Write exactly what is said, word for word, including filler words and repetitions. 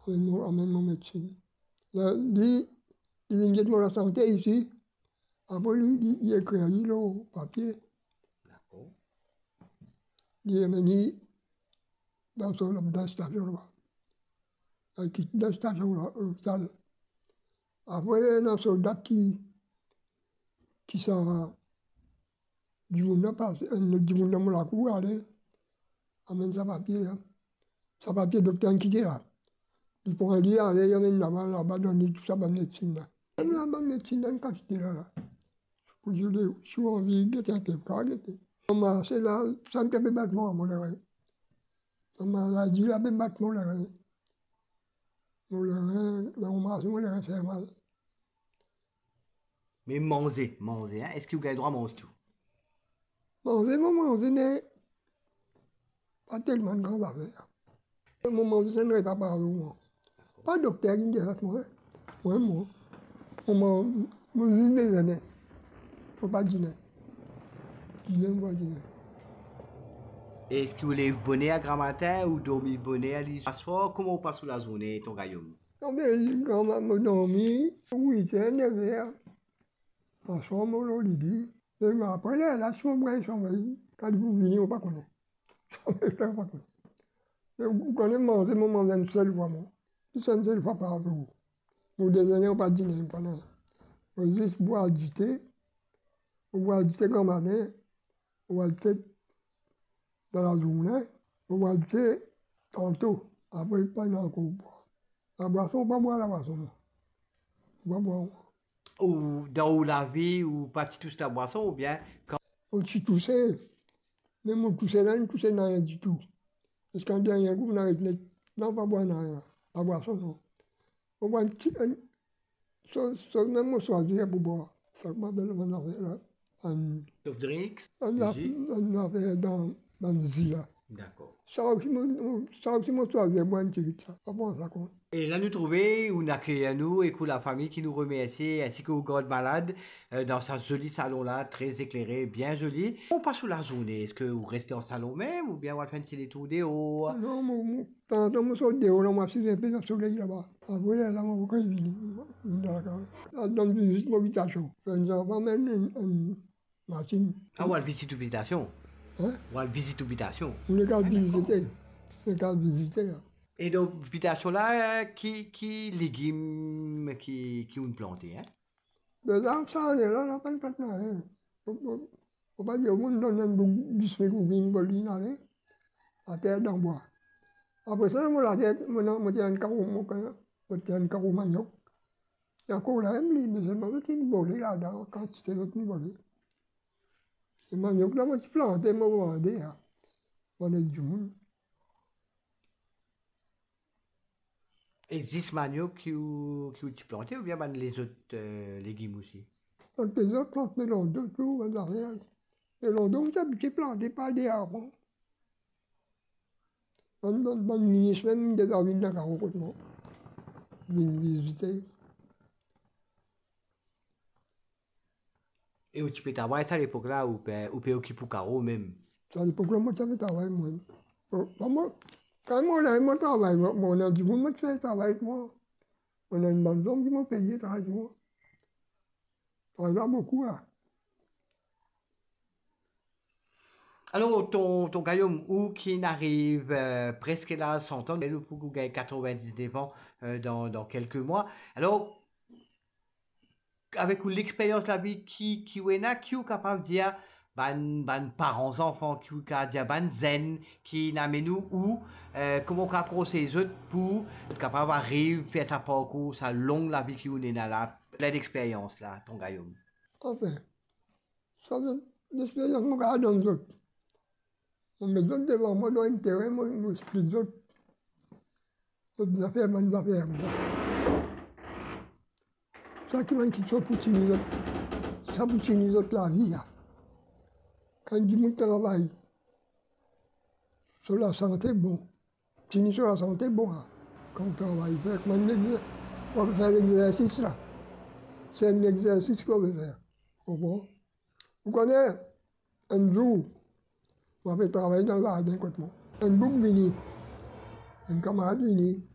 Amenn mo, amenn mo medsinn. La, li, li vinn get mo lasante isi. Apre li, li, li ekrir li lor papie. Dakor. Li amenn li dan so, dan stasion laba. Li kit dan stasion la, lopital. Apre, ena solda ki, ki sa dimoun la pas, enn lot dimoun dan mo lakour, ale, amenn sa papie la. Sa papie dokter inn kite la. Li pran li, ale, li amenn laba, laba donn li tou sa bann medsinn la. Amenn la bann medsinn la, inn kas de la, la. Pou dir li, si ou anvi gete enpe, ou kav gete. Mo marse la, sa ki pe bat mwa, mo lerin. Sa maladi la pe bat mo lerin. Mo lerin, ler mo marse, mo lerin fer mal. Me manze, manze, hein, eski ou gagn drwa manz tou? Manze, mo manze, me pa telman enn gran zafer. Mo manze, se enn repa par zour, mwa. Pa dokter ki dir sa mwa, hein. Mwa, mwa, mo manz, mo zis dezene. Mo pa dine. Dine, mo pa dine. Eski ou lev boner gramatin, ou dormi boner liswar? Kouma ou pas ou lazourne, tonton Gayom? Non, be, gramatin, mo dormi, wit er, nef er. Aswar mo lor lidi. Me apre lerla, si mo gagn somey, kan li pou vini, mo pa kone. Somey la, mo pa kone. Me ou kone manze, mo manz enn sel fwa, mwa. Zis enn sel fwa par zour. Mo dezene, mo pa dine, mo pa nanye. Mo zis bwar dite, mo bwar dite gramatin, mo bwar dite dan lazourne, mo bwar dite tanto, apre pa ena ankor bwar. Labwason, mo pa bwar labwason, mo pa bwar. Ou, dan ou lavi, ou pa ti tous labwason, oubien kan... Mo ti touse, me mo touse la, inn touse nanye ditou. Ziska dernie gou, mo aret net. Non, pa bwar nanye, labwason, non. Mo bwar enn ti, enn, so, so, mem mo swazir pou bwar. Sa ki mo apel bann zafer la, enn... Soft drinks, enn zaf-, jus? Enn zafer dan bann zi la. Dakor. Sa osi mo, mo, sa osi mo swazir bwar enn tigit sa. Pa pran sa kont. E la nou trouve, ou inn akeyir nou ek ou lafami ki nou remersie, ensi ki ou gard malad, euh, dan sa zoli salon la, tre eklere, bien zoli. Ou pas ou lazourne, eski ou reste dan salon mem, oubien ou al fer enn ti detour deor? Non, mo, mo, tanzantan mo sort deor la, mo asiz enpe dan soley laba. Apre lerla, mo revini, vini dan lakaz. Al rann vizit mo bitasion. Fer enn zanfan, amenn enn, enn, enn masinn. Ah, ou al vizit ou bitasion? Hein? Ou al vizit ou bitasion? Mo nek al vizite. Mo nek al vizite la. E donk, bitasion la, ki, ki legim ki, ki ou'nn plante, hein? Be la, sa ane la, la pa'nn plant nanye. Mo, mo, mo pa dir, mo'nn donn enn boug dis mil roupi, mo donn li, ale, ater dan bwa. Apre sa, mo later, mo, mo ti ena enn karo, mo, mo ti ena enn karo maniok. Li ankor la mem li, me selman zot inn vole ladan, kantite zot inn vole. Se maniok la mo ti plante, mo vande la. Mo donn dimoun. E zis maniok ki ou, ki ou ti plante, oubien bann lezot, euh, legim osi? Bann lezot, plant melon de tou, bann zafer. Melon de, mo ti abitie plante par de avan. Bann, bann, bann minis mem deza vinn dan karo kot mwa, vinn vizite. E ou ti pe travay sa lepok la, ou pe, ou pe okip ou karo mem? Sa lepok la, mo ti pe travay mwa. Mo, mo, kan mo la, mo travay, mo, mo ena dimoun, mo ti fer travay ek mwa. Mo ena enn bann zom ki mo peye travay ek mwa. Travay la boukou, la. Alor, tonton Gayom, ou ki'nn ariv, euh, preske laz san an, ou pou gagn katrovin-diznef an, euh, dan, dan kelke mwa. Alor, avek ou lexperyans lavi ki, ki ou ena, ki ou kapav dir bann, bann paran zanfan, ki ou kapav dir bann zenn ki'nn amenn ou, ou, euh, kouma ou kapav konsey zot pou zot kapav ariv fer sa parkour, sa long lavi ki ou ena la, plin lexperyans la, tonton Gayom? Anfin, sa lexperyans mo kapav donn zot. Mo met zot devan mwa, dan enn terin, mo, mo explik zot. Zot zafer, bann zafer. Sa ki bann kiksoz pou tini zot, sa pou tini zot lavi, la. Kan dimoun travay, so lasante bon. Tini so lasante bon, la. Kan ou travay, fer kouma enn exer-, ou pe fer lexersis, la. Se enn lexersis ki ou pe fer. Konpran? Ou kone, enn zour, mo pe travay dan zardin kot mwa. Enn boug vini, enn kamarad vini,